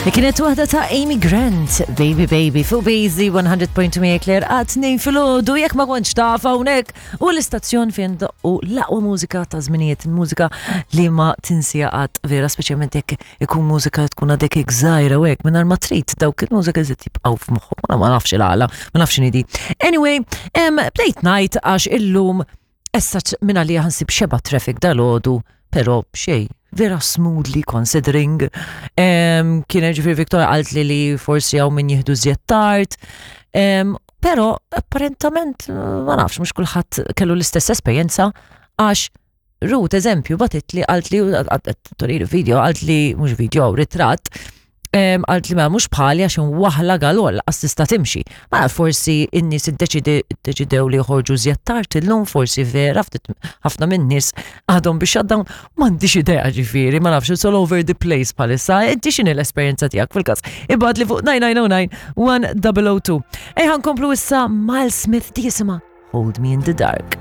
Li kienet waħda ta' Amy Grant, Baby Baby, fuq Bazy 100.2 Claire għat nejn filgħodu jekk ma kontx taf hawnhekk u l-istazzjon fejn u l-aqwa mużika ta' żminijiet, mużika li ma tinsija qatt vera speċjalment jekk ikun mużika tkun għadek hekk żgħira u hekk mingħajr ma trid dawk il-mużika żied jibqgħu f'moħħok, ma nafx il-għala, ma nafx x'inhi Anyway, bdejt ngħid għax illum Essa minn għalija ħansib xeba traffic dal-ħodu, pero xej, vera smoothly considering. Um, kien ġifiri Victoria għalt li li forsi għaw min jihdu zjed tard. Um, pero apparentament, ma nafx, mux kullħat kellu l-istess esperjenza għax Ruth, eżempju, batit li għalt li, toriri video, għalt li, mux video, ritratt, għalt li ma mhux bħali għax waħla galol għas tista' timxi. Ma forsi in-nies iddeċidew li joħorġu żjed tard illum forsi vera ftit ħafna minn nies għadhom biex shutdown m'għandix idea ġifieri, ma nafx it's all over the place bħalissa. Inti x'inhi l-esperjenza tiegħek fil-każ? Ibgħat li fuq 9909 1002. Ejja nkomplu issa Miles Smith di jisimha Hold Me in the Dark.